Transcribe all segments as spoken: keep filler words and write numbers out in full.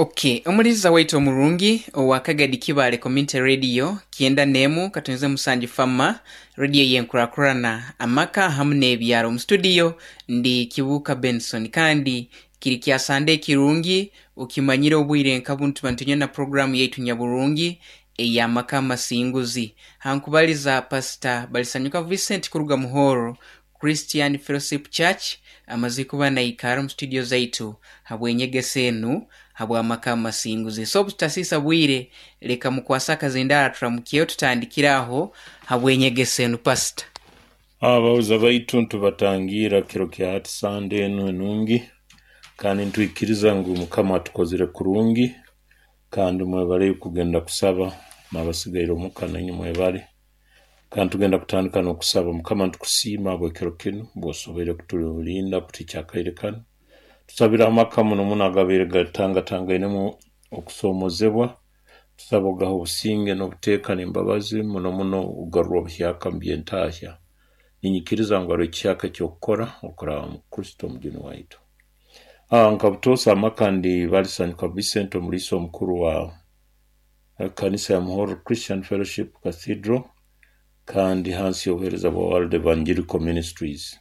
Okay, omuliza waitu omurungi owa Kagadi Kibale Community Radio kyenda nemu katonze musanju fama radio yenkurakurana amaka hamu n'ebyaro. Mu studio ndi Kibuka Benson, kandi kiri kya Sande kirungi ukimanyire obwire nka buntu bantunya na programu yaitu nyaburungi ey'amaka amasinguzi. Hankubaliza Pastor Balisanyuka Vincent kuruga Muhoro Christian Fellowship Church, amaze kuba naikara mu studio zaitu habwenyegesa enu habw'amaka amasinguzi. So butasisa bwire, leka mukwasa akazindara turamukyeyo tutandikiraho habwenyegesa enu. Pastor, abahuza baitu ntubatangira kiro kya hati Sande enu enungi, kandi ntwikiriza ngu Mukama atukozire kurungi, kandi mwebale kugenda kusaba n'abasigaire omuka nainywe mwebale. Kandi tugenda kutandika n'okusaba. Mukama, ntukusiima habw'ekiro kinu bw'osoboire kutulinda kutukya akaire kanu. Tusabire amaka muno muno agabaire gatangatangainemu okusomozebwa, tusaba ogaha obusinge n'obuteeka n'embabazi, muno muno ogarura obuhyaka mu by'entahya. Ninyikiriza ngu hariho ekihyaka eky'okukora okuraba mu Kristo omujuni waitu. Ah, nka butoosa amaka, ndi Balisanyuka Vincent, omuliisa omukuru wa kanisa ya Muhoro Christian Fellowship Cathedral, kandi hansi y'obuheereza bwa World Evangelical Ministries.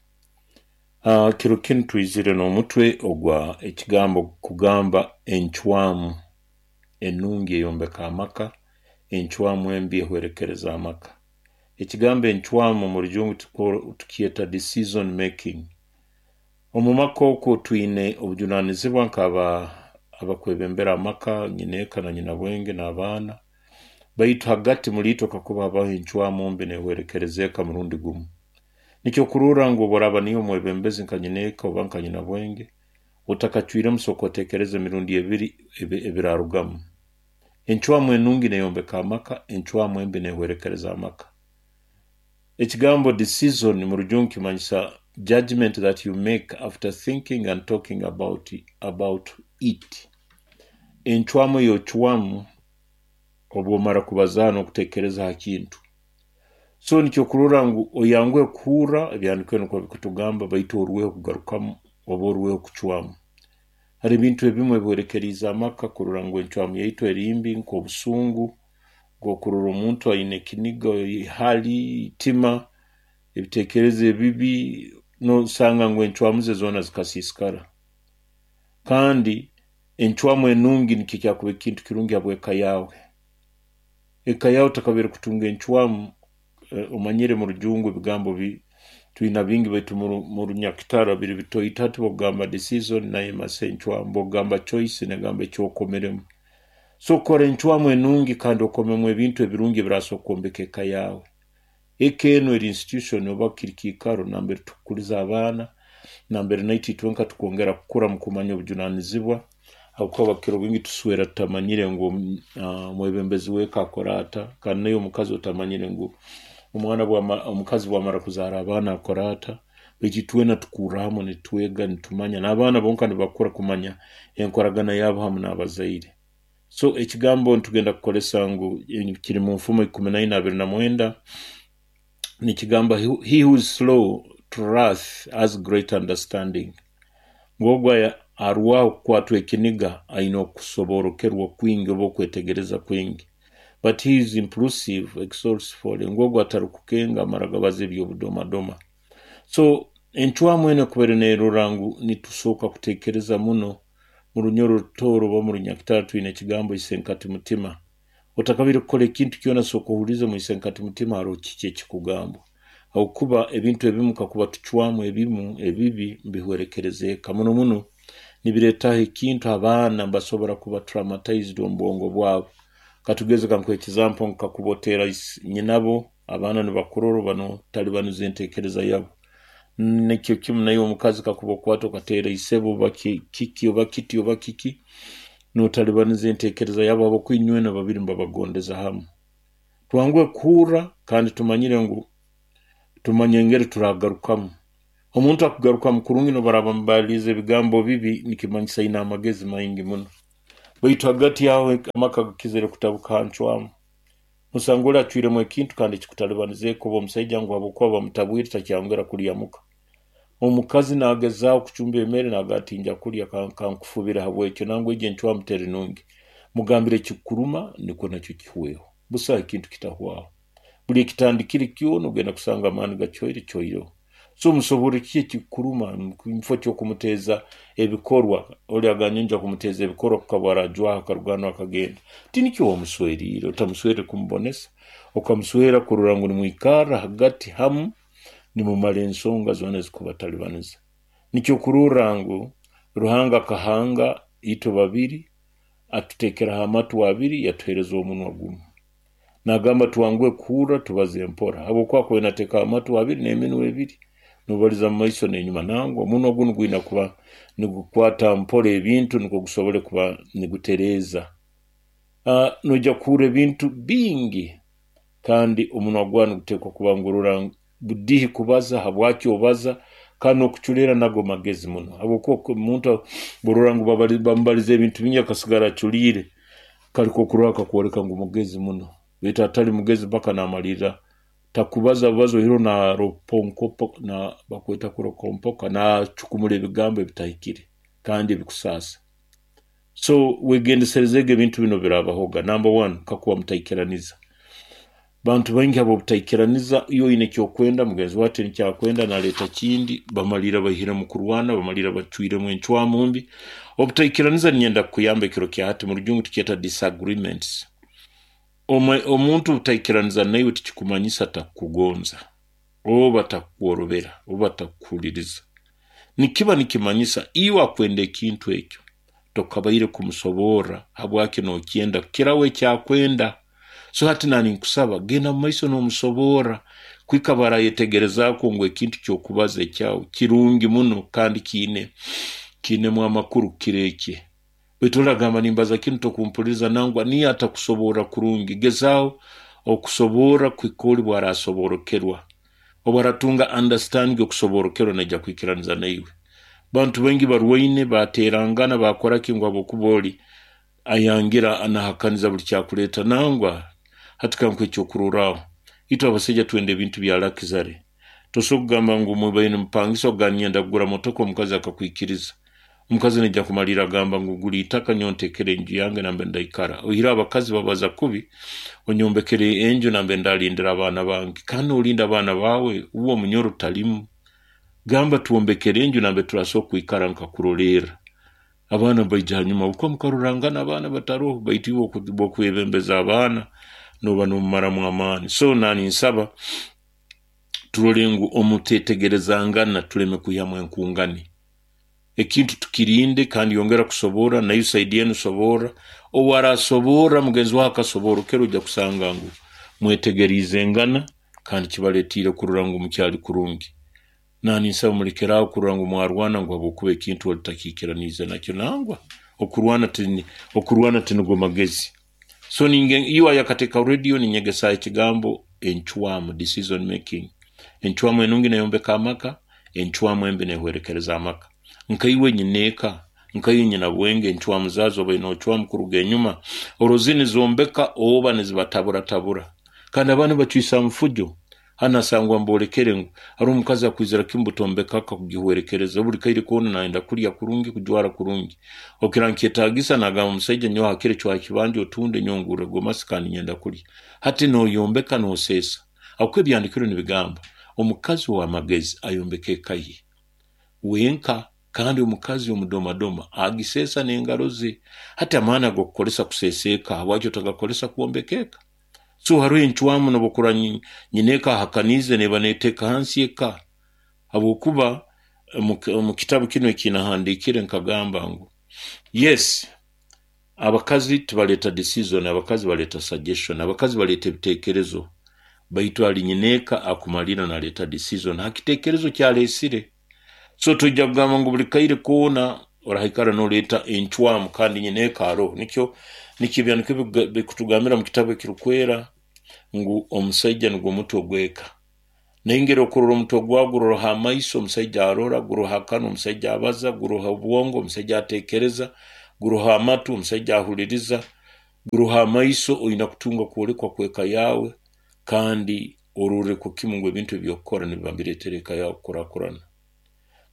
Uh, kiro kinu twizire n'omutwe ogwa ekigambo kugamba encwamu enungi eyombeka amaka, encwamu embi ehwerekereza amaka. Ekigambo encwamu mu Rujungu tukyeta decision making. Omu maka okwo twine obujunanizibwa nk'aba abakwebembera amaka, nyineeka na nyinabwenge n'abaana, baitu hagati muliitwe kakuba habaho encwamu mbi nehwerekereza eka murundi gumu. Nikyo kurora ngu obu niyo omwebembezi nka nyineeka oba nka nyinabwenge, otakacwiremu sooka otekereze emirundi ebiri ebirarugamu. Encwamu enungi neyombeka amaka, encwamu embi nehwerekereza amaka. Ekigambo decision mu Rujungu kimanyisa judgment that you make after thinking and talking about, about it. Encwamu ey'ocwamu obwomara kubazaho n'okutekereza ha kintu. So nikyo kurora ngu oyanguhe kuhurra ebyahandiikirwe nukwo bikutugamba, baitu orweho kugarukamu oba orweho kucwamu. Hari ebintu ebimwe ebihwerekeriize amaka kurora ngu encwamu yaitu eri mbi, nk'obusungu, nk'okurora omuntu aine ekiniga, ihali, itima, ebitekerezo ebibi, nosanga ngu encwamu ze zoona zikasiisikara. Kandi encwamu enungi nikyo kyakuba ekintu kirungi habw'eka yaawe. Eka yaawe otakabaire kutunga encwamu, omanyire mu Rujungu ebigambo twina bingi, baitu mu Runyakitara biri bitoito. Hati bwokugamba decision nayo emasa encwamu, bwokugamba choice negamba ekyokomeremu. So kora encwamu enungi kandi okomemu ebintu ebirungi ebirasobora kwombeka eka yaawe. Eka enu eri institution oba kiri kiikaro nambere tukukuliza abaana, nambere naitwe itwenka tukwongera kukura mu kumanya obujunanizibwa, habwokuba kiro bwingi tuswera tutamanyire ngu omwebembezi w'eka akora ata, kandi naye omukazi otamanyire ngu omwana omukazi bwamara kuzaara abaana akora ata. Baitu itwena tukurra hamu nitwega, nitumanya, n'abaana bonka nibakura kumanya enkoragana yabo hamu n'abazaire. So ekigambo nitugenda kukolesa ngu kiri mu Nfumo ikumi na ina abiri na mwenda, nikigamba, "He who is slow to wrath has great understanding." Ngu ogu arwaho kukwatwa ekiniga aine okusoborokerwa kwingi oba okwetegereza kwingi. But he is impulsive exalts folly. Ngu ogu atarukukenga amara gabaza eby'obudomadoma. So encwamu enu ekubaire nerora ngu nitusooka kutekereza muno. Mu Runyoro Rutooro oba mu Runyakitara twine ekigambo isenkati mutima. Otakabaire kukora ekintu kyona, sooka ohulize mu isenkati mutima haroho kiki ekikugambwa, habwokuba ebintu ebimu kakuba tucwamu ebimu ebibi mbihwerekereza eka muno muno, nibiretaho ekintu abaana mbasobora kuba traumatized omu bwongo bwabo. Katugeze kankuhe example, kakuba oteera nyinabo, abaana nibakurora banotalibaniza entekereza yabo. Nikyo kimu naye omukazi, kakuba okwata okateera isebo oba kiki oba kiti oba kiki, notalibaniza entekereza yabo, habwokuba inywena babiri mbabagondeza hamu. Twanguhe kuhurra kandi tumanyire ngu tumanye engeri turagarukamu. Omuntu akugarukamu kurungi nobaraba mubaliize ebigambo bibi, nikimanyisa aine amagezi maingi muno. Baitu hagati aho amaka gakizire kutabuka ha ncwamu. Osanga oli acwiremu ekintu kandi kikutalibaniza eka, oba omusaija ngu habwokuba bamutabwire takyayongera kulya muka. Omukazi nagezaaho kucumba emere naga ati nja kulya kankufubira habwekyo, nangwa egyo encwamu teri nungi. Mugambire ekikuruma nikwo nakyo kihweho. Busaho ekintu kitahwaho. Buli ekitandikire kyona ogenda kusanga amaani gakyoire kyoireho. So musobora kiki ekikuruma mufo ky'okumuteeza ebikorwa. Oli agambye nja kumuteeza ebikorwa kukaba arajwaha akarugano akagenda. Tinikyo wamusweriire, otamuswere kumubonesa, okamuswera kurora ngu nimwikarra hagati hamu nimumara ensonga zoona ezikubatalibaniza. Nikyo kurorra ngu Ruhanga akahanga itwe babiri, atuteekeraho amatu abiri, yatuheereza omunwa gumu. Nagamba twanguhe kuhurra tubaze mpora, habwokuba akubaire nateekaho amatu abiri n'eminwa ebiri, nobaliza mu maiso n'enyuma. Nangwa omunwa gunu gwina kuba nigukwata mpora ebintu nukwo gusobole kuba nigutereeza. Uh, noija kuhurra ebintu bingi, kandi omunwa gwawe niguteekwa kuba ngurora budihi kubaza, habwaki obaza, kandi n'okuculeera nago magezi muno. Habwokuba omuntu borora ngu bamubaliza ebintu bingi akasigara aculiire, kali kokurora kakwoleka ngu mugezi muno. Baitu atali mugezi mpaka namalirra takubaza bubazo oihireho naroponkopo na bakweta kurokompoka, nacukumura ebigambo ebitahikire kandi ebikusaasa. So wegendeserezege ebintu bino birabahoga. Number one, kakuba mutaikiraniza. Bantu baingi habw'obutaikiraniza, iwe oine ekyokwenda, mugenzi wawe ati nikyakwenda, naleeta kindi, bamalira baihiremu kurwana, bamalira bacwiremu encwamu mbi. Obutaikiraniza ninyenda kukuyamba ekiro kya hati, mu rujungu tukyeta disagreements. Omuntu obutaikiraniza naiwe tikikumanyisa takukugonza, oba takukworobera, oba takukuhuliriza. Nikiba nikimanyisa iwe akwenda ekintu ekyo, tokabaire kumusoborra habwaki nokyenda kukiraho ekyakwenda. So hati nani nkusaba genda mu maiso n'omusoborra kwika barayetegerezaako ngu ekintu ky'okubaza ekyawe kirungi muno kandi kiine kiinemu amakuru kukira ekye. Baitu oragamba nimbaza kinu tokumpuliriza, nangwa niyo atakusoborra kurungi. Gezaaho okusoborra kuhika oli bwarasoborokerwa. Obu aratunga understanding okusoborokerwa naija kwikiraniza naiwe. Bantu baingi barwaine baterangana bakora ki ngu habwokuba oli ayangira anahakaniza buli kyakuleeta. Nangwa hati kankuhe ekyokurorraho, itwe abasaija twenda ebintu bya luxury. Tosobola kugamba ngu mubaire nimupangisa okugamba ninyenda kugura motoka omukazi akakwikiriza. Omukazi naija kumalirra agamba ngu gura itaka nyowe ntekere enju yange nambere ndaikara. Oihireho abakazi babaza kubi, onyombekere enju nambere ndalindira abaana bange. Kandi nolinda abaana baawe uwe omunyoro talimu. Gamba twombekere enju nambere turasobora kwikara nkakurolerra. Abaana baija hanyuma habwokuba mukarorangana abaana bataroho, baitu iwe bw'okwebembeza abaana noba nomumaramu amaani. So nani nsaba turole ngu omutetegerezangana tuleme kwihamu enkungani. Ekintu tukirinde kandi yongera kusoborra, nayo side enu soborra. Obu arasoborra mugenzi wawe akasoborokera ojja kusanga ngu mwetegeriizengana kandi kibaletiire kurora ngu mukyali kurungi. Nani nsaba mulekeraaho kurora ngu mwarwana ngu habwokuba ekintu oli takiikiraniize nakyo. Nangwa okurwana tini okurwana tinigo magezi. So ninge iwe ayakateeka radio ninyegesaho ekigambo encwamu, decision making. Encwamu enungi neyombeka amaka, encwamu embi nehwerekereza amaka. Nkaiwe nyineeka, nkaiwe nyina bwenge, encwamu zaazo obaire nocwamu kuruga enyuma, orwo zinu nizombeka oba nizibataburatabura. Kandi abaana bacwisa mufujo. Hanu asangwa mbolekere ngu haroho omukazi akwizira kimu butombeka akakugihwerekereza, buli kaire koona nayenda kulya kurungi, kujwara kurungi. Okira nkyetaagisa nagamba omusaija nyowe hakire cwaha ekibanja otunde nyowe ngurre gomasi kandi nyenda kulya. Hati noyombeka noseesa. Habwokuba ebyandikirwe nibigamba omukazi ow'amagezi ayombeka eka ye wenka, kandi omukazi omudomadoma agiseesa n'engaro ze. Hati amaani ag'okukozesa kuseesa eka habwaki otagakozesa kwombeka eka? So haroho encwamu n'obu nyineeka ahakaniize neeba neteeka hansi eka. Habwokuba omu kitabu kinu ekinahandiikire nkagamba ngu yes, abakazi tibaleeta decision, abakazi baleeta suggestion, abakazi baleeta ebiteekerezo, baitu ali nyineeka akumalira naleeta decision ha kiteekerezo kyaleesire. So toija kugamba ngu buli kaire koona orahaikara noleeta encwamu kandi nyineeka aroho. Nikyo nikyo ebyanikyo bikutugambira mu kitabu ekirukwera ngu omusaija nugwo mutwe gw'eka. Naingeri okurora omutwe gwawe guroha amaiso, omusaija arora, guroha akanwa, omusaija abaza, guroha obwongo, omusaija ateekereza, guroha amatu, omusaija ahuliriza, guroha amaiso, oina kutunga kwolekwa kw'eka yawe kandi ororre kimu ngu ebintu ebyokukora nibiba nibireetera eka yawe kukurakurana.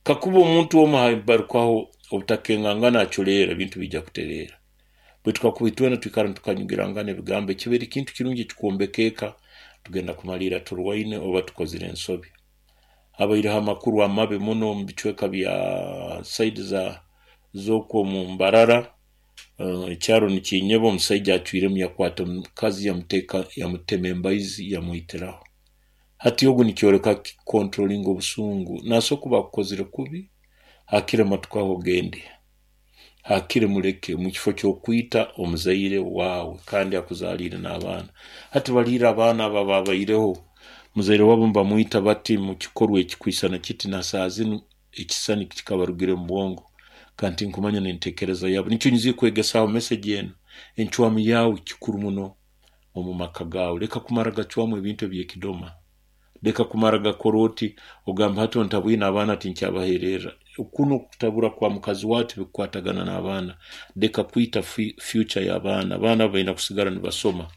Kakuba omuntu omu habarukwaho obutakengangana aculeera, ebintu bijja kutereera. Baitu kakuba itwena twikara nitukanyugirangana ebigambo, ekibaire kintu kirungi ekikwombeka eka, tugenda kumaliira turwaine oba tukozire ensobi. Habaireho amakuru amabi muno omu bicweka bya side za z'okwo omu Mbarara, uh, ekyaro nikinyeba, omusaija acwiremu yakwata omukazi yamuteeka yamutema embaizi yamwitiraho. Hati ogu nikyoleka controlling obusungu. Naso kuba akukozire kubi, hakire matukaho ogende, hakire muleke mu kifo ky'okwita omuzaire waawe kandi akuzaliire n'abaana. Hati baliire abaana abo ababaireho muzaire wabo nibamwita bati mu kikorwa ekikwisana kiti, na saa zinu ekisani kikabarugire mu bwongo, kandi tinkumanya n'entekereza yabo. Nikyo nyizire kwegesaho message enu, encwamu yawe kikuru muno omu maka gawe. Leka kumara gacwamu ebintu eby'ekidoma, leka kumara gakora oti ogamba hati ontabwine abaana tinkyabahererra. Kuno kutabura kwa mukazi wawe tibikukwatagana n'abaana. Leka kwita future y'abaana. Abaana baina kusigara nibasoma,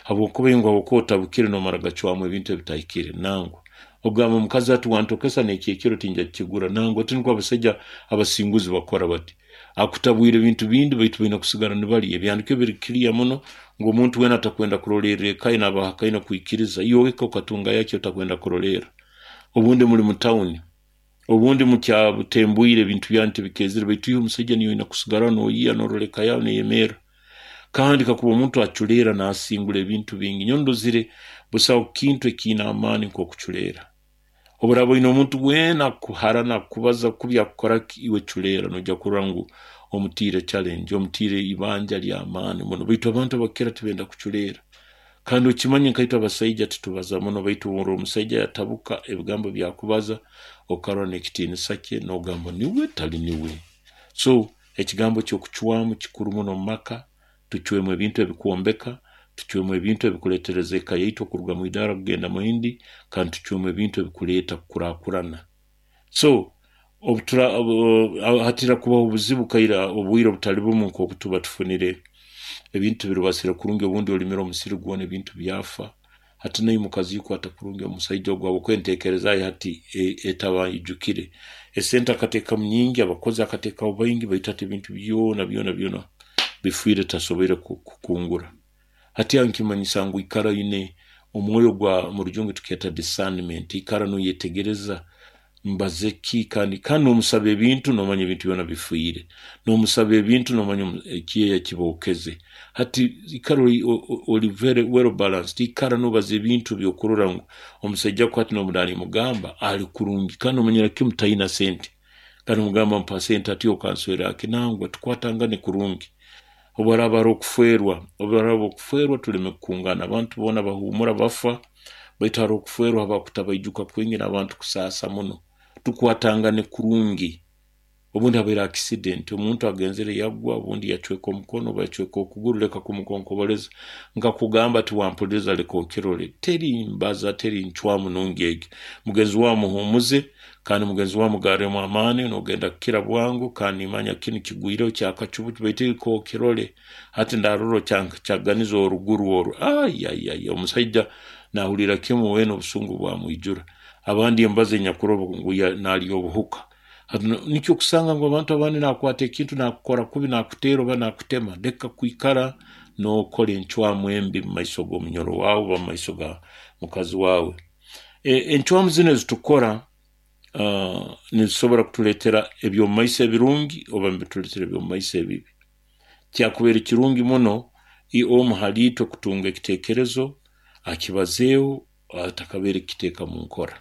habwokuba ingu habwokuba otabukire nomara gacwamu ebintu ebitahikire. Nangwa ogamba omukazi ati wantokesa n'ekyekiro tinja kukigura. Nangwa ati nukwo abasaija abasinguzi bakora bati, akutabwire ebintu bindi baitu baina kusigara nibalya. Ebyandiko biri clear muno ngu omuntu weena atakwenda kurolerra eka ye naaba kwikiriza. Iwe eka okatunga yaki otakwenda kurolerra? Obundi muli mu tawuni, obundi mukyabutembwire, ebintu byanyu tibikezire, baitu iwe omusaija niiwe oina kusigara noyiya norora eka yawe neyemerra. Kandi kakuba omuntu aculeera nasingura ebintu bingi. Nyowe ndozire busaho kintu ekiine amaani nk'okuculeera. Obu oine omuntu weena akuharana, akubaza kubi, akukora ki, iwe culeera, noija kurora ngu omutiire challenge, omutiire ibanja ly'amaani muno. Baitu abantu abakira tibenda kuculeera. Kandi okimanye nkaitwe abasaija titubaza muno, baitu orora omusaija yatabuka ebigambo byakubaza, okarora n'ekitiinisa kye nogamba niwe tali niwe. So ekigambo ky'okucwamu kikuru muno mu maka. Tucwemu ebintu ebikwombeka, tucwemu ebintu ebikuleetereza eka yaitu okuruga mu idaara kugenda mu yindi, kandi tucwemu ebintu ebikuleeta kukurakurana. So obutura hatira kubaho obuzibu kaira obwire obutali bumu nk'oku tuba tufunire ebintu birubasire kurungi, obundi olimire omusiri gwona ebintu byafa. Hati naye mukazi yikwata kurungi omusaija ogu, habwokuba entekereza ye hati etaba ijukire. Esente akateekamu nyingi, abakozi akateekaho baingi, baitu hati ebintu byona byona byona bifiire, tasoboire kukungura. Hati aho nikimanyisa ngu ikara oine omwoyo gwa, mu rujungu tukyeta discernment, ikara noyetegereza mbaze ki, kandi kandi nomusaba ebintu nomanya ebintu byona bifiire, nomusaba ebintu nomanya ekiyeya kibookeze. Hati ikara oli very well balanced, ikara nobaza ebintu byokurora ngu omusaija ko hati nomudani mugamba ali kurungi, kandi omanyira kimu tayina sente, kandi omugamba mpa sente ati okanswera aki. Nangwa tukwatangane kurungi. Obu haraaba hariho okufeerwa, obu haraaba okufeerwa tuleme kukungana. Abantu boona bahuumura bafa, baitu hariho okufeerwa haba kutabaijuka kwingi n'abantu kusaasa muno. Tukwatangane kurungi. Obundi habaire accident, omuntu agenzere yagwa, obundi yacweka omukono oba yacweka okuguru, leka kumukonkoboleza nkakugamba ati wampuliriza, leka okirole. Teri mbaza, teri ncwamu nungi egi. Mugenzi wawe muhumuze, kandi mugenzi wawe mugarremu amaani, nogenda kukira bwangu, kandi nimanya kinu kigwireho kyakacubu, baitu leka okirole. Hati ndarora kyaganiza oruguru oru, ayayaya, omusaija nahulira kimu weena obusungu bwamwijura. Abandi embaza enyakuroba ngu nalya obuhuka. Nikyo kusanga ngu abantu abandi nakwata ekintu nakukora kubi, nakuteera oba nakutema. Leka kwikara nokora encwamu embi mu maiso g'omunyoro wawe oba mu maiso ga mukazi wawe. Encwamu zinu ezitukora uh, nizisobora kutuleetera eby'omu maiso ebirungi oba nibituleetera eby'omu maiso ebibi. Kyakubaire kirungi muno omu haliitwe kutunga ekiteekerezo akibazeeho atakabaire kukiteeka mu nkora.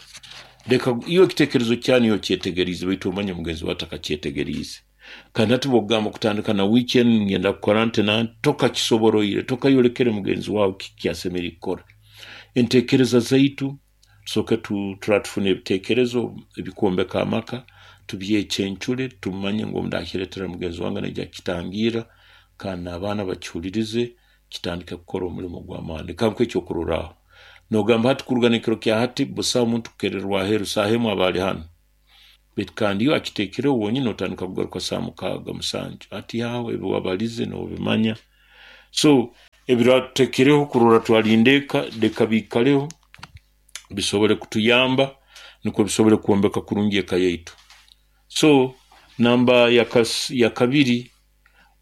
Leka iwe ekiteekerezo kyanyu okyetegeriize, baitu omanye mugenzi wawe atakakyetegeriize. Kandi hati bwokugamba kutandika na wiiki enu ngenda kukora nti nanti, tokakisoboroire, tokayolekere mugenzi wawe kiki asemeriire kukora. Enteekereza zaitu tusooke turaba tufuna ebiteekerezo ebikwombeka amaka, tubyecencure, tumanye ngu obu ndakireetera mugenzi wange naija kukitangiira, kandi n'abaana bakihulirize, kitandike kukora omulimo gw'amaani. Leka nkuhe ekyokurorraho. Nogamba hati kuruga n'ekiro kya hati busaho muntu kukererwa aheeru, saaha emu aba ali hanu. Baitu kandi iwe akiteekereho wonyini otandika kugaruka saaha mukaaga musanju. Hati aho ebi wabalize nobimanya. So ebiratuteekereho kurora twalinda eka, leka biikaleho bisobole kutuyamba nukwo bisobole kwombeka kurungi eka yaitu. So namba ya kabiri,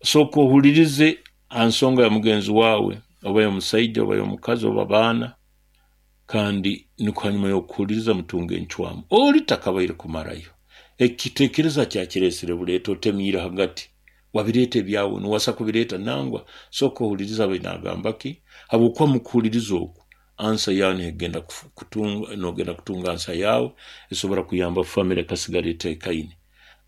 sooka ohulirize ha nsonga ya mugenzi waawe, oba y'omusaija oba y'omukazi oba baana, kandi nikwo hanyuma y'okuhuliriza mutunge encwamu. Oli takabaire kumarayo ekiteekereza kyakireesere buleeta otemiire hagati, wabireeta ebyawe niwasa kubireeta nangwa. Sooka ohuliriza abe nagamba ki, habwokuba mukuhuliriza oku ansa yawe negenda kutunga, nogenda kutunga ansa yawe esobora kuyamba family ekasigara eteekaine.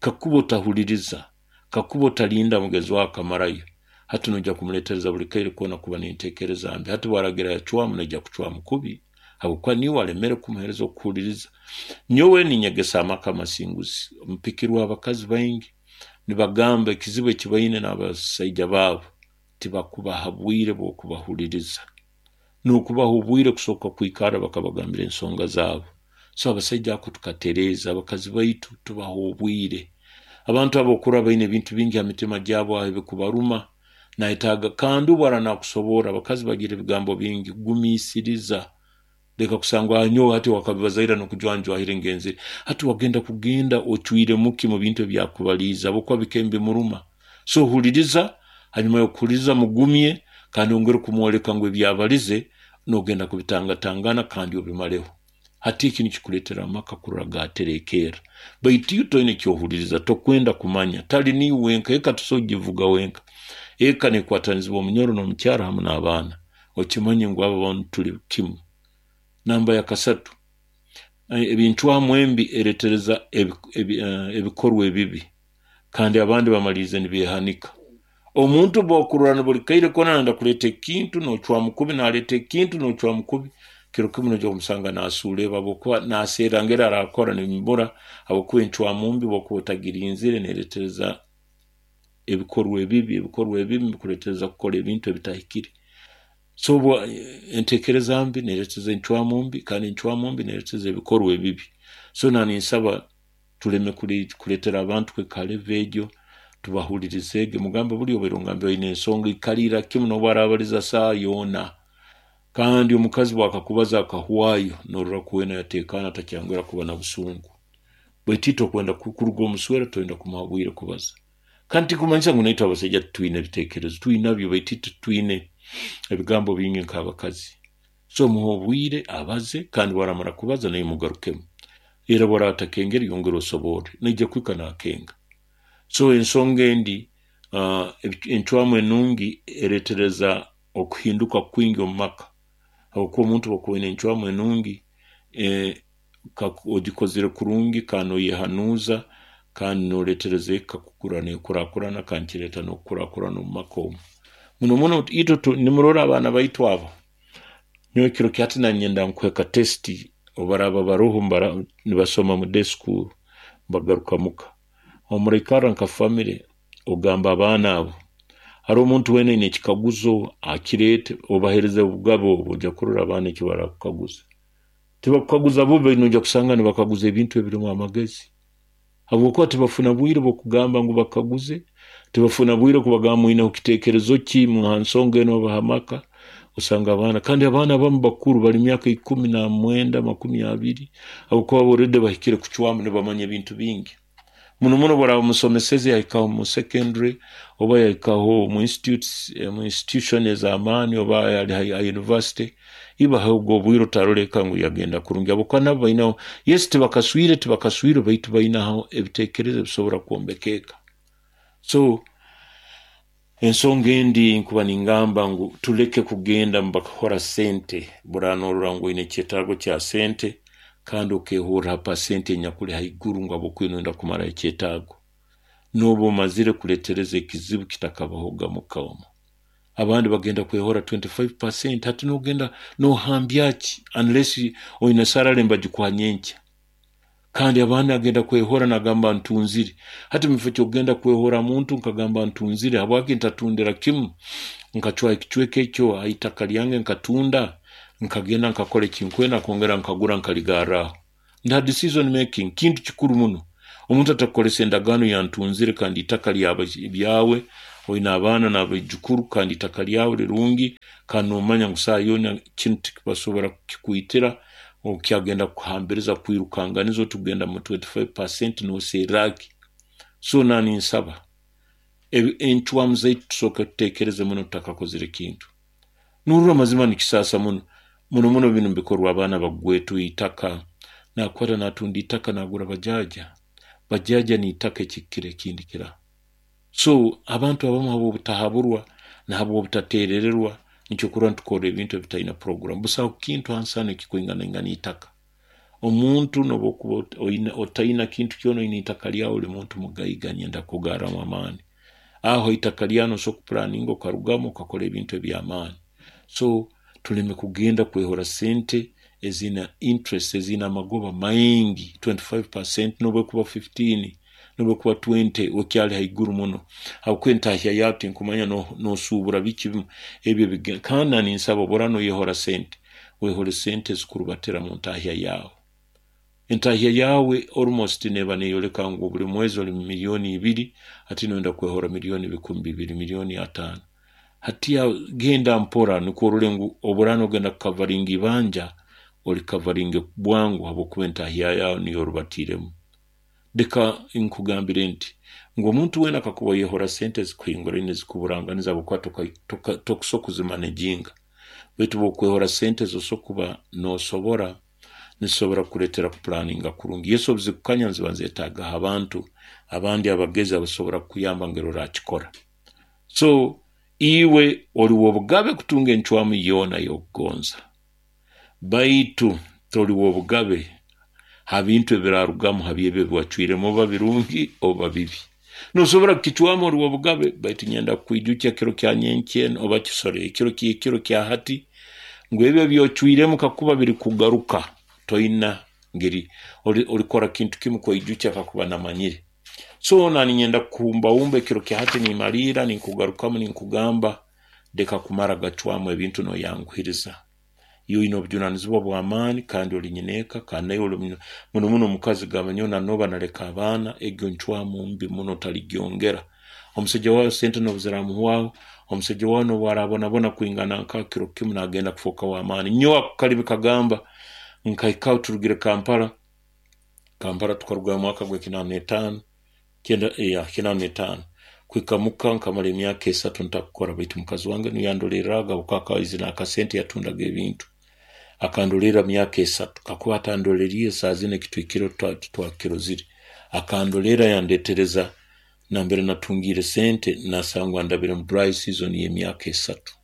Kakuba otahuliriza, kakuba otalinda mugenzi wawe akamarayo, hati noija kumuleetereza buli kaire koona kuba n'enteekereza mbi. Hati bwaragira yacwamu, naija kucwamu kubi habwokuba niiwe alemere kumuheereza okuhuliriza. Nyowe ninyegesa amaka amasinguzi, mpikirwe abakazi baingi nibagamba ekizibu eki baine n'abasaija baabo, tibakubaha bwire bw'okubahuliriza, n'okubaha obwire kusooka kwikara bakabagambira ensonga zaabo. So abasaija ako tukatereeza, abakazi baitu tubaha obwire. Abantu abo okurora baine ebintu bingi ha mitima gyabo aho ebikubaruma, nayetaaga kandi obu ara nakusoborra. Abakazi bagira ebigambo bingi, gumiisiriza, leka kusangwa nyowe hati wakabibazaira n'okujwanjwahira ngenzire. Hati wagenda kugenda ocwiremu ki mu bintu ebyakubaliize, habwokuba bike mbimuruma. So huliriza, hanyuma y'okuhuliriza mugumye, kandi ongere kumwoleka ngu ebyabalize nogenda kubitangatangana kandi obimareho. Hati eki nikikuleetera amaka kurora gaterekerra. Baitu iwe toine ekyohuliriza, tokwenda kumanya, tali niiwe wenka, eka tosobora kugivuga wenka. Eka nekwatanizibwa omunyoro n'omukyara hamu n'abaana. Okimanye ngu abo bantu tuli kimu. Namba ya kasatu, ebincwamu embi ereetereza ebikorwa ebibi, kandi abandi bamalirize nibeehanika. Omuntu bw'okurora buli kaire koona nayenda kuleeta ekintu, nocwamu kubi, naleeta ekintu nocwamu kubi, kiro kimu noija kumusanga nasuura eba habwokuba naserra ngeri arakora nibimubura, habwokuba encwamu mbi bw'okuba otagirinzire neeretereza ebikorwa ebibi, ebikorwa ebibi bikuleetereza kukora ebintu ebitahikire. So enteekereza mbi neeretereza encwamu mbi, kandi encwamu mbi neeretereza ebikorwa ebibi. So naninsaba tuleme kuleetera abantu kuhika ha level egyo, tubahulirizeege, mugambe buli obaire ongambire oine ensonga, ikalira kimu n'obu arabaliza saaha yoona. Kandi omukazi bwakakubaza akahwayo, norora kuwena yateekaana takyangwera kuba na busungu. Baitu itwe okwenda kuruga omuswera toyenda kumuha bwire kubaza. Kandi tikumanyisa ngu naitwe abasaija titwine ebiteekerezo, twinabyo, baitu itwe twine ebigambo bingi nk'abakazi. So muhe obwire abaze, kandi bwaramara kubaza naiwe mugarukemu. Era bwaraba atakengere yongera osoborre, naija kuhika nakenga. So ensonga endi, uh, encwamu enungi ereetereza okuhinduka kwingi omu maka, habwokuba omuntu bw'okuba oine encwamu enungi, eh, ogikozere kurungi kandi noyehanuuza, kandi noleetereza eka kukura nekurakurana, kandi kireeta n'okukurakurana omu maka omu. Muno muno itwe nimurora abaana baitu abo, nyowe kiro kya hati nanyenda nkuhe ka test, obu baraaba baroho nibasoma mu day school bagaruka muka. Omuraikarra nka family ogamba abaana abo, haroho omuntu weena aine ekikaguzo akireete, obaheereze obugabe obu, ojja kurora abaana eki barakukaguza. Tibakukaguza bubi, noija kusanga nibakaguza ebintu ebirimu amagezi, habwokuba tibafuna bwire bw'okugamba ngu bakaguze, tibafuna bwire kubagamba mwineho kiteekerezo ki ha nsonga enu oba ha maka. Osanga abaana, kandi abaana abamu bakuru bali myaka ikumi na mwenda, makumi abiri, habwokuba already bahikire kucwamu, nibamanya ebintu bingi. Muno muno bwaraba musomeseze yahikaho mu secondary oba yahikaho mu institutes, mu institution ez'amaani oba yali ha university, ibahe obwo obwire otaroleka ngu yagenda kurungi, habwokuba nabo bainaho, yes, tibakaswire tibakaswire baitu bainaho ebiteekerezo ebisobora kwombeka eka. So ensonga endi nkuba ningamba ngu tuleke kugenda mubakahora sente, buraba norora ngu oine ekyetaago kya sente kandi okehurra ha pasenti enyakuli haiguru ngu habwokuba noyenda kumaraho ekyetaago, noba omazire kuleetereza ekizibu kitakabahoga muka omu. Abandi bagenda kwehora twenty five percent, hati nogenda nohambya ki unless oine salary nibagikuha nyenkya. Kandi abandi agenda kwehora nagamba ntunzire. Hati mukifo ky'okugenda kwehora muntu nkagamba ntunzire, habwaki ntatundira kimu nkacwaho ekicweka ekyo ha itaka lyange nkatunda, nkagenda nkakora ekinkwenda nkongera nkagura nkaligarraho. Nta decision making kintu kikuru muno. Omuntu atakukozesa endagaano ya ntunzire kandi itaka lyawe, oine abaana n'abaijukuru kandi itaka lyawe lirungi, kandi nomanya ngu saaha yoona kinu tibasobora kukikwitira, okyagenda kukuhambiriza kwirukanganiza oti kugenda mu twenty five percent noserra ki. So naninsaba encwamu zaitu tusooke tuteekereze muno tutakakozere kintu. Nurora amazima nikisaasa muno muno muno binu bikorwa abaana bagwetu itaka, nakwata natunda itaka nagura bajaja, bajaja niitaka ekikira ekindi kira. So abantu abamu habw'obutahaburwa na habw'obutateerererwa nikyo kurora nitukora ebintu ebitaina program. Busaho kintu hansi hanu ekikwinganaingana itaka. Omuntu nobu okuba otaina kintu kyona oine itaka lyawe oli muntu mugaiga, nyenda kukugarramu amaani. Aho itaka lyawe nosobora kupulaninga okarugamu okakora ebintu eby'amaani. So tuleme kugenda kwehora sente ezina interest, ezina amagoba maingi twenty-five percent nobu ekuba fifteen, nobu ekuba twenty, okyali haiguru muno. Habwokuba entahya yawe tinkumanya nosuubura biki bimu ebyo. Kandi ninsaba obu oraaba noyehora sente, wehole sente ezikurubatira mu ntahya yawe. Entahya yawe almost neeba neyoleka ngu buli mwezi oli miliyoni ibiri, hati noyenda kwehora miliyoni bikumi bibiri, miliyoni ataano. Hati genda mpora nukwo orole ngu obu oraaba nogenda kukavaringa ibanja, olikavaringe bwangu habwokuba entahya yawe niyo orubatiiremu. Leka nkugambire nti ngu omuntu weena kakuba oyehora sente ezikuhinguraine ezikuburanganiza habwokuba tokusobora kuzimanejinga, baitu obu okwehora sente ezo kuba nosobora nizisobora kukuleetera kupulaninga kurungi. Yesu obu zikukanya niziba nizeetaagaho abantu abandi abagezi abasobora kukuyamba ngeri orakikora. So iwe oli w'obugabe kutunga encwamu yoona ey'okugonza, baitu toli w'obugabe ha bintu ebirarugamu ha byebyo ebi wacwiremu, oba birungi oba bibi. Nosobora kukicwamu, oli w'obugabe, baitu nyenda kukwijukya kiro kya nyenkya oba kisore ekiro ky'ekiro kya hati ngu ebyo ebyocwiremu kakuba birikugaruka toina ngeri olikora kintu kimu kweijukya kakuba namanyire. So naninyenda kukuhumbahumba ekiro kya hati nimaliira ninkugarukamu ninkugamba leka kumara gacwamu ebintu noyanguhiriza. Iwe oine obujunanizibwa bw'amaani kandi oli nyineeka, kandi naiwe oli muno muno omukazi gamba nyowe nanoba naleka abaana, egyo ncwamu mbi muno otaligyongera. Omusaija waawe sente nobu ziramuhwaho, omusaija waawe nobu arabonabona kwingana nka kiro kimu nagenda kufooka w'amaani. Nyowe ako kalibi kagamba nkahikaho turugire Kampala, Kampala tukarugayo mwaka gw'ekinaana n'etaano, kinaana n'etaano kuhika muka nkamara emyaka esatu ntakukora, baitu mukazi wange niwe yandolerraga habwokuba akaba aizire n'akasente yatundaga ebintu. Akandolerra myaka esatu, kakuba atandoleriire saaha zinu ekitwikire titwakirozire. Akandolerra yandeetereza nambere natungiire sente nasangwa ndabire mu dry season y'emyaka esatu.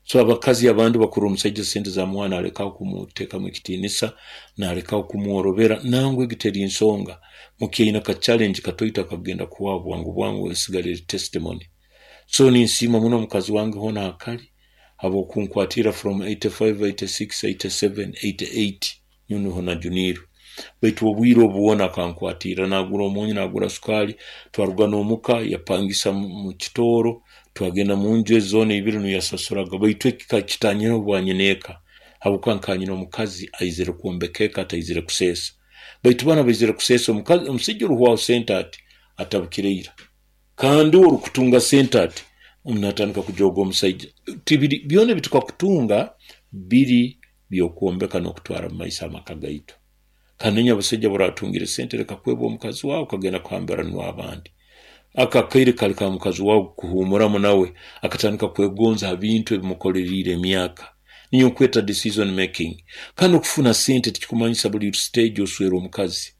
So abakazi abandi bakurora omusaija sente zamuha nalekaho kumuteekamu ekitiinisa, nalekaho kumworobera, nangwa egi teri nsonga. Mukyaine aka challenge katoito akakugenda kuhwaho bwangu bwangu esigara eri testimony. So ninsiima muno mukazi wange hoona akali habw'okunkwatira from eighty-five, eighty-six, eighty-seven, eighty-eight nyowe nuho najuniirwe. Baitu obwire obu bwona akankwatira, nagura omunyu, nagura sukaali, twaruga n'omuka yapangisa mu kitooro, twagenda munju ezi zoona ibiri niwe yasasuraga, baitu eki kitanyireho bwanyineeka habwokuba nkaba nyina omukazi aizire kwombeka eka ataizire kuseesa. Baitu banu abaizire kuseesa, omukazi omusaija oruhwaho sente ati atabukire ira, kandi uwe orukutunga sente ati natandika kujooga omusaija. Tibiri byona ebitukakutunga biri by'okwombeka n'okutwara mu maiso amaka gaitu. Kandi inywe abasaija obu sente leka kwebwa omukazi waawe okagenda kuhambiranwa abandi. Ako akaire kali ka mukazi waawe kuhuumuramu nawe akatandika kwegonza ha bintu ebimukoleriire emyaka. Niyo nkweta decision making. Kandi okufuna sente tikikumanyisa buli stage oswera omukazi.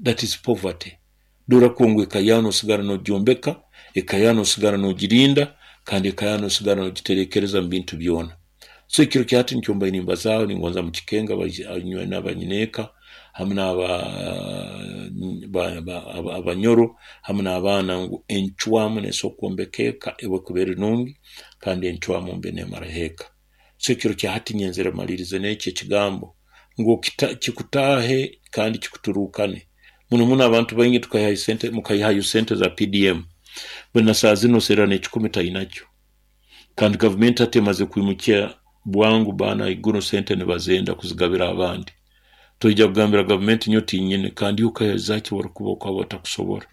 That is poverty. Dora ngu eka yawe nosigara nogyombeka, eka yawe nosigara nogirinda, kandi eka yawe nosigara nogiterekereza mu bintu byona. So ekiro kya hati nikyo mbaire nimbazaaho ningonza mukikenga inywe n'abanyineeka hamu n'abanyoro hamu n'abaana ngu encwamu neesobora kwombeka eka obu ekuba eri nungi kandi encwamu mbi neemaraho eka. So ekiro kya hati nyenzere malirize n'eki ekigambo ngu kikutaahe kandi kikuturuukane. Muno muno abantu baingi tukaihayo sente, mukaihayo sente za P D M, bwena saaha zinu oserra n'ekikumi tainakyo. Kandi gavumenti hati emaze kwimukya bwangu baana haiguru sente nibazenda kuzigabira abandi. Toija kugambira gavumenti nyowe tinyine, kandi okaihayo orukuba okaba otakusobora.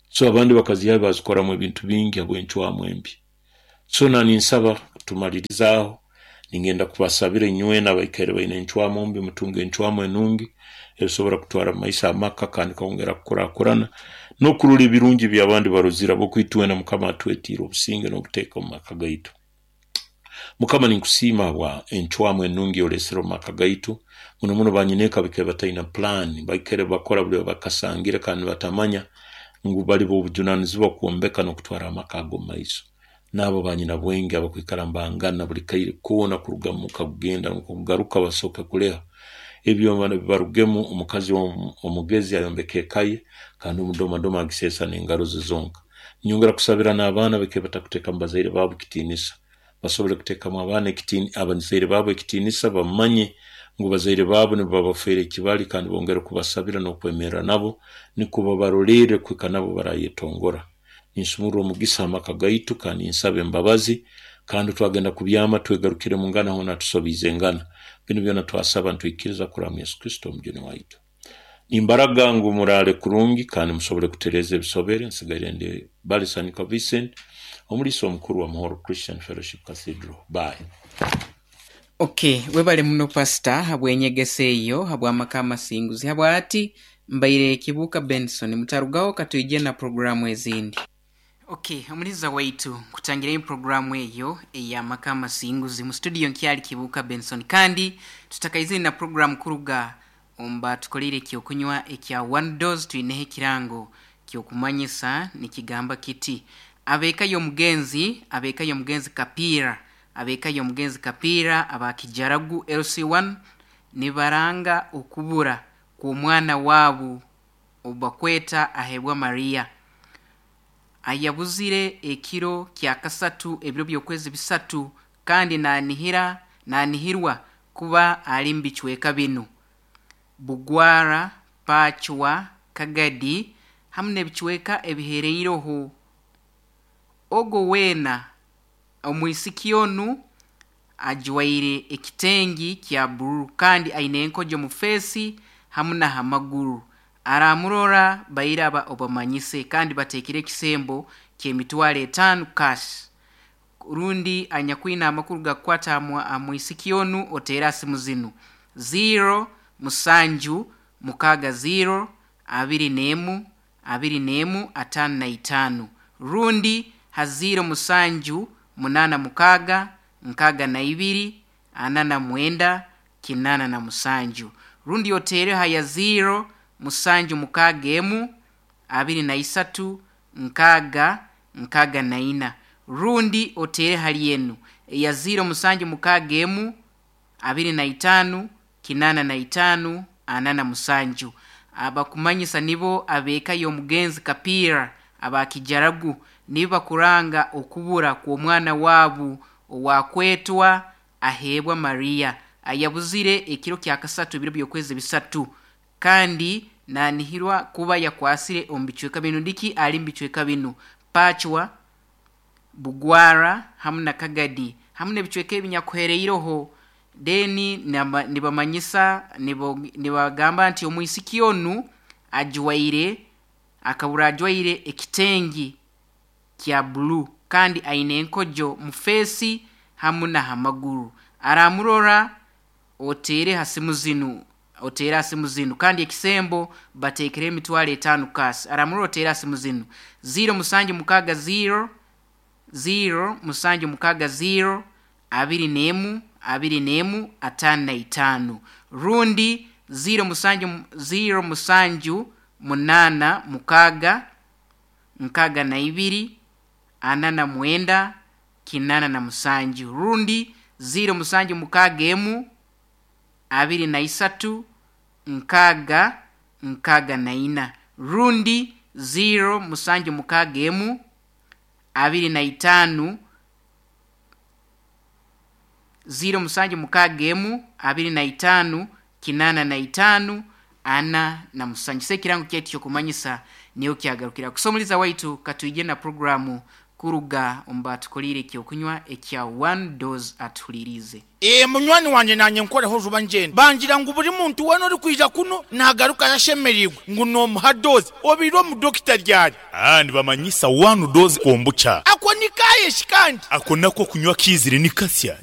So abandi bakazihayo bazikoramu ebintu bingi habw'encwamu embi. So naninsaba tumalirizaaho, Ningenda kubasabira inywena abaikaire baine encwamu mbi, mutunge encwamu enungi esobora kutwara maiso amaka kandi kongera kukurakurana n'okurora ebirungi by'abandi barozire, habwokuba Mukama atwetiire obusinge n'obuteeka omu maka gaitu. Mukama, ninkusiima habwa encwamu enungi olesere omu maka gaitu. Muno muno banyineeka baikaire bataina pulaani, baikaire bakora buli bakasangire kandi batamanya ngu bali b'obujunanizibwa kwombeka n'okutwara amaka ago omu maiso. N'abo banyina bwenge abakwikara mbangana buli kaire koona, kuruga muka kugenda kugaruka basooke kuleha ebyo bibarugemu. Omukazi omugezi ayombeka eka ye, kandi omudomadoma agiseesa n'engaro ze zonka. Nyongera kusabira n'abaana baikaire batakuteekamu bazaire baabo ekitiinisa, basobole kuteekamu abaana abazaire baabo ekitiinisa, bamanye ngu bazaire baabo nibo babafeera ekibali, kandi bongere kubasabira n'okwemerra nabo nukwo babarolerre kuhika nabo barayetongora. Ninsumurra omugisa amaka gaitu kandi nsaba embabazi, kandi twagenda kubyama twegarukire mungana hoona tusobiize ngana. Binu byona twasaba nitwikiriza kuraba Yesu Kristo omujuni waitu. Nimbaraga ngu muraale kurungi kandi musobole kutereeza ebisobere. Nsigaire ndi Balisanika Vincent, omuliisa omukuru wa Muhoro Christian Fellowship Cathedral. Bye. Okay, webale muno pastor habw'enyegesa eyo habw'amaka amasinguzi. Habwati mbaire Kibuuka Benson, mutarugaho katwije na programu ezindi. Okay, omuliza waitu kutangira programu eyo ey'amaka amasinguzi mu studio nkyali Kibuuka Benson, kandi tutakaizire na programu kuruga omba tukolire ekyokunywa ekya One Dose. Twineho ekirango kyokumanyisa nikigamba kiti: abeeka y'omugenzi, abeeka y'omugenzi Kapiira, abeeka y'omugenzi Kapiira abakijaragu L C one nibaranga okubura kw'omwana waabu obakweta ahebwa Maria, ayabuzire ekiro kya kasatu ebiro by'okwezi bisatu, kandi nanihira nanihirwa kuba ali mubicweka binu: Bugwara, Pachwa, Kagadi hamu n'ebicweka ebihereireho. Ogo weena omwisiki onu ajwaire ekitengi kya bururu kandi aine enkojo mu feesi hamu n'ahamaguru. Aramurora bairaba obamanyise, kandi bateekire ekisembo ky'emitwaro etaano cash. Rundi anyakwina amakuru gakukwata amwisiki onu oteera simu zinu: zero musanju mukaaga zero abiri n'emu abiri n'emu ataano na itaano, rundi ha zero musanju munaana mukaaga nkaaga na ibiri ana na mwenda kinaana na musanju, rundi oteere ha ya zero musanju mukaaga emu abiri na isatu nkaaga nkaaga na ina, rundi oteere hali enu eya zero musanju mukaaga emu abiri na itaano kinaana na itaano ana na musanju. Abakumanyisa nibo abeeka y'omugenzi Kapiira abakijaragu, nibo bakuranga okubura kw'omwana waabu owakwetwa aheebwa Maria, ayabuzire ekiro kya kasatu ebiro by'okwezi bisatu, kandi nanihirwa kuba yakwasire omu bicweka binu. Ndiki ali mu bicweka binu: Pachwa, Bugwara hamu na Kagadi hamu n'ebicweka ebinyakuhereireho. Deni nibamanyisa nibagamba nti omwisiki onu ajwaire akabura ajwaire ekitengi kya blue kandi aine enkojo mu feesi hamu n'ahamaguru. Aramurora oteere ha simu zinu, oteere ha simu zinu, kandi ekisembo bateekere emitwaro etaano cash. Aramurora oteere ha simu zinu: zero musanju mukaaga zero zero musanju mukaaga zero abiri n'emu abiri n'emu ataano na itaano, rundi zero musanju zero musanju munaana mukaaga nkaaga na ibiri ana na mwenda kinaana na musanju, rundi zero musanju mukaaga emu abiri na isatu nkaaga nkaaga na ina, rundi zero musanju mukaaga emu abiri na itaano zero musanju mukaaga emu abiri na itaano kinaana na itaano ana na musanju. Se ekirango kyaitu kyokumanyisa niyo kyagarukira. Kusomuliza waitu katwije na programu kuruga omba tukolire ekyokunywa ekya One Dose atuhulirize. E munywani wanje nanye nkoreho juba njenda bangira ngu buri muntu wena ori kwija kuno nagaruka yashemerirwe ngu nomuha dose obiro omu dokita ryari. Ah, nibamanyisa One Dose kombucha ako nikayeshi kandi ako nako kunywa kizire nikasya.